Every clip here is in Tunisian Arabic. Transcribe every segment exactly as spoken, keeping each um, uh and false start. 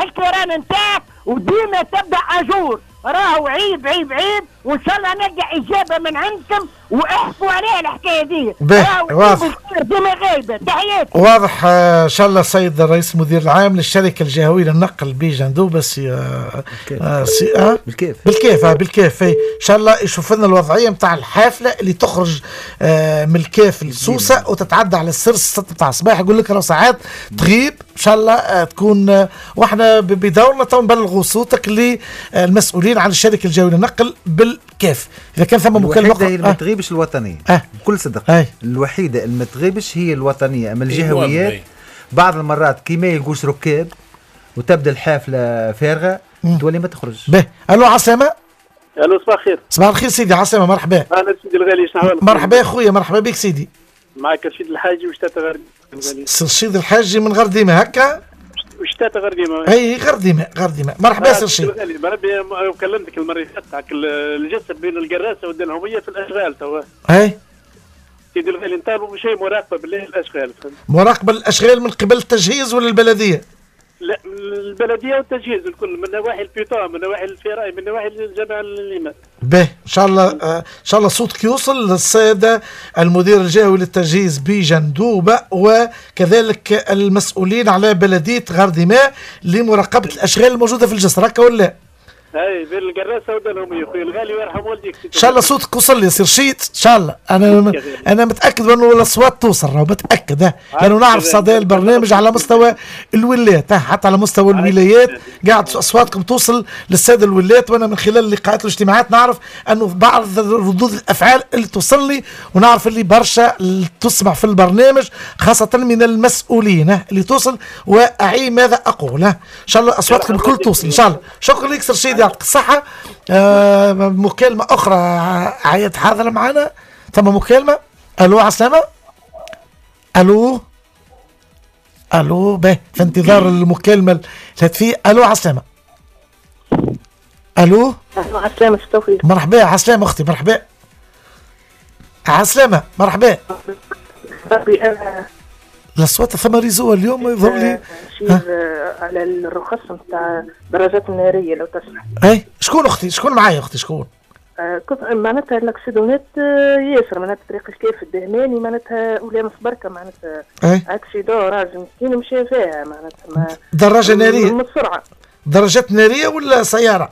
الكيران نتاعك وديما تبدا à jour. راهو عيب عيب عيب، وان شاء الله نلقى اجابه من عندكم واحكوا عليها الحكاية دي. واضح ديما غايبة. تحياتي. واضح. ان شاء الله السيد الرئيس المدير العام للشركة الجهوية للنقل بجندوبه سي آه سي آه بالكيف بالكيف آه بالكيف ان شاء الله يشوف لنا الوضعية نتاع الحافلة اللي تخرج آه من الكاف لسوسه وتتعدى على السرس ستة نتاع الصباح، يقول لك راه ساعات تغيب. ان شاء الله آه تكون آه واحنا بدورنا تو نبلغوا صوتك للمسؤولين عن الشركة الجهوية للنقل بالكاف. اذا كان ثم مكالمة الوحيدة هي اللي ما تغيبش الوطنية. أه. بكل صدق. أه. الوحيدة اللي ما تغيبش هي الوطنية، اما الجهويات بعض المرات كي ما يلقوش ركاب وتبدا الحافلة فارغة تولي ما تخرج. به. الو عسلامة. الو صباح الخير. صباح الخير سيدي، عسلامة، مرحبا. اهلا سيدي الغالي، شنو احوالك؟ مرحبا يا خويا، مرحبا بك سيدي. معك رشيد الحاجي وشتات غرديمه. رشيد الحاجي من غرديمه هكا؟ وشتات غرديمه. اي غرديمه غرديمه. مرحبا سي رشيد. بربي كلمتك المرة اللي فاتت الجسر بين القراسه والدلهوميه في الاشغال توا. اي سيدي الغالي نطالبوا بشيء مراقبة بالله الاشغال. مراقبة الاشغال من قبل التجهيز ولا البلدية؟ لا البلدية والتجهيز الكل، من نواحي ال piétons، من نواحي ال ferraille، من نواحي الجامع الإمام. به ان شاء الله ان شاء الله صوتك يوصل للسادة المدير الجهوي للتجهيز بجندوبه وكذلك المسؤولين على بلديه غردماء لمراقبه الاشغال الموجودة في الجسر، هكا ولا؟ اي بين القراسه ودلهم يا خويا الغالي ويرحم والديك. ان شاء الله صوتك وصل لي سي رشيد، ان شاء الله. انا انا متاكد انه الاصوات توصل، راهو متاكد، لانه نعرف صدى البرنامج على مستوى الولايات، حتى على مستوى الولايات قاعد اصواتكم توصل للسادة الولايات، وانا من خلال اللقاءات والاجتماعات نعرف انه بعض ردود الافعال اللي توصل لي، ونعرف اللي برشا تسمع في البرنامج خاصة من المسؤولين اللي توصل، واعي ماذا اقول. ان شاء الله اصواتكم الكل توصل ان شاء الله. شكرا لك سي رشيد، يعطيك الصحة. آه مكالمة أخرى عياد حاضرة معنا، ثم مكالمة. ألو عسلامة. ألو ألو به في انتظار المكالمة الهاتفية. ألو عسلامة. ألو. ألو عسلامة توفيق. مرحبا عسلامة أختي، مرحبا عسلامة، مرحبا. الأصوات ثم réseau اليوم يظهر لي على الرخص نتاع الدراجات النارية لو تسمح. اي شكون اختي؟ شكون معايا اختي؟ شكون؟ آه معناتها ال accident ات ياسر، معناتها طريق الكاف الدهماني معناتها ولامس بركة معناتها accident راجل مسكين مشى فيها معناتها ما دراجة نارية من السرعة. دراجات نارية ولا سيارة؟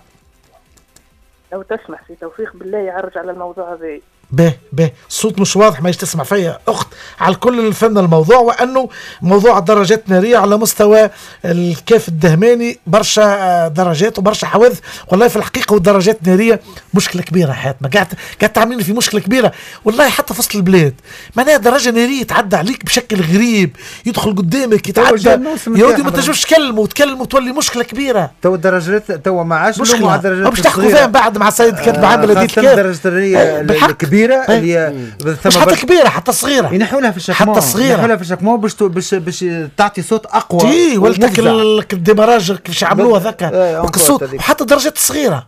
لو تسمح سي توفيق بالله يعرج على الموضوع هذا. به به الصوت مش واضح، ما تسمع فيا اخت. على الكل فهمنا الموضوع، وانه موضوع الدراجات النارية على مستوى الكاف الدهماني برشا درجات وبرشا حوادث. والله في الحقيقة والدراجات النارية مشكلة كبيرة حياتنا، قاعد قاعد تعملين في مشكلة كبيرة والله حتى في وسط البلاد. معناها دراجة نارية تعدى عليك بشكل غريب، يدخل قدامك يتعدى يا ودي ما تنجمش تكلمه وتكلمه تولي مشكلة كبيرة. تو الدراجات تو ما عادش نلوموا على الدراجات، باش تحكوا فيها بعد مع السيد كاتب عام بلديه الكاف. الدراجات النارية كبيرة اللي هي مش حتى كبيرة، حتى صغيرة ينحوا لها في ال chaque حتى صغيرة ينحوا لها في ال chaque باش باش باش تعطي صوت اقوى. تي ولا ال démarrage كيفاش عملوه هذاك الصوت، وحتى الدراجات الصغيرة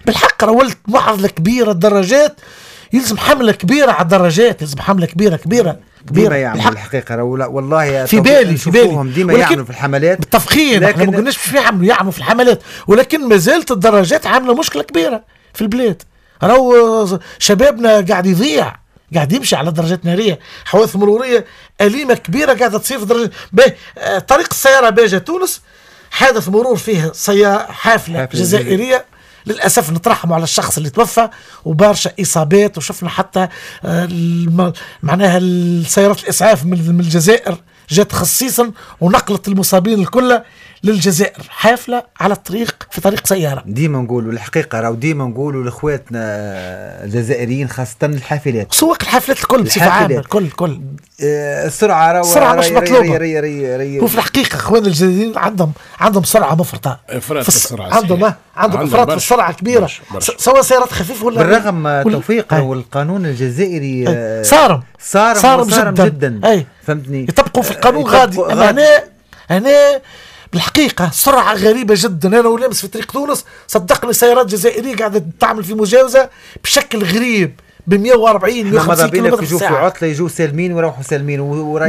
بالحق راه ولت معضلة كبيرة. الدراجات يلزم حمله كبيرة على الدراجات، يلزم حمله كبيرة كبيرة كبيرة. ديما يعملوا الحقيقة والله في بالي في بالي ديما يعملوا في الحملات بالتفخيم، احنا ما قلناش باش يعملوا يعملوا في الحملات، ولكن ما زالت الدراجات عامله مشكلة كبيرة في البلاد. راهو شبابنا قاعد يضيع، قاعد يمشي على درجات نارية، حوادث مروريه اليمه كبيرة قاعدة تصير في درجات. باهي طريق السيارة باجه تونس حادث مرور فيه سيارة حافلة جزائرية للاسف نترحموا على الشخص اللي توفى وبرشا اصابات، وشفنا حتى معناها السيارات الاسعاف من الجزائر جات خصيصا ونقلت المصابين الكل للجزائر، حافلة على الطريق في طريق سيارة. ديما نقولوا الحقيقة راهو ديما نقولوا لاخواتنا الجزائريين خاصة الحافلات، سواق الحافلات الكل بصفة عامة الكل الكل آه السرعة راهو السرعة مش مطلوبه. ري ري ري وفي الحقيقة اخوان الجزائريين عندهم عندهم سرعة مفرطة، افراط في السرعة، عندهم عندهم افراط في السرعة كبيرة، سواء سيارات خفيفة ولا بالرغم توفيق والقانون الجزائري صارم صارم صارم جدا, جداً. أي. فهمتني، يطبقوا في القانون غادي. اما هنا هنا بالحقيقة سرعة غريبة جدا. أنا ولامس في طريق تونس صدقني سيارات جزائرية قاعدة تعمل في مجاوزة بشكل غريب ب مية وأربعين مية وخمسين كيلومتر في الساعة. يجوا في عطلة يجوا سالمين ويروحوا سالمين.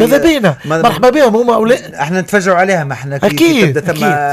ماذا بينا، مرحبا بهم هما. احنا نتفجعوا عليها ما احنا أكيد تبدا ثم